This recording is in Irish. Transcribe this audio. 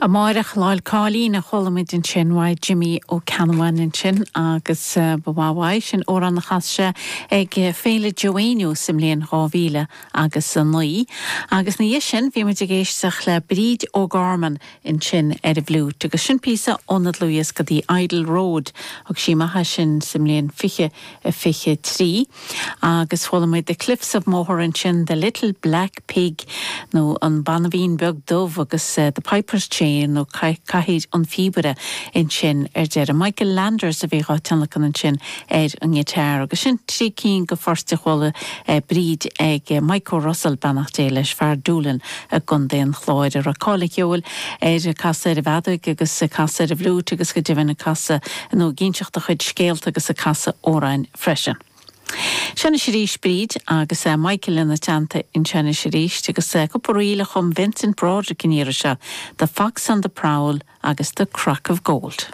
Amáireach Lá'l Cáilín a chuala muid ansin uaidh Jimí Ó Ceannabháin ansin agus ba mhaith uaidh sin amhrán a chas sé ag Féile Joe Éinniú sa mbliain 2000 agus 9. Agus ina dhiaidh sin bhí muid ag éisteacht le Bríd O'Gorman ansin ar an bhfliúit agus sin píosa óna dlúthdhiosca The Idle Road, thug sí amach é sin sa mbliain 2023. Agus chuala muid The Cliffs of Moher ansin, The Little Black Pig nó An Banbhín Beag Dubh agus The Piper's Chair nó Cathaoir an Phíobaire ansin ar deireadh. Michael Landers a bhí dhá tionlacan ansin ar an ngiotár. Agus sin trí cinn de phoirt a chuala Bríd ag Mike O'Russell, beannacht Dé leis, fear Doolin i gContae an Chláir, a raibh cáil an cheoil air ag casadh ar an bhfeadóig agus ag casadh ar an bhfliúit agus go deimhin ag casadh nó ag inseacht a chuid scéalta agus ag casadh amhráin freisin. Seo anois arís Bríd agus Michael lena teannta anseo anois arís agus cúpla ríl a chum Vincent Broderick an iarraidh seo, The Fox on the Prowl agus The Crock of Gold.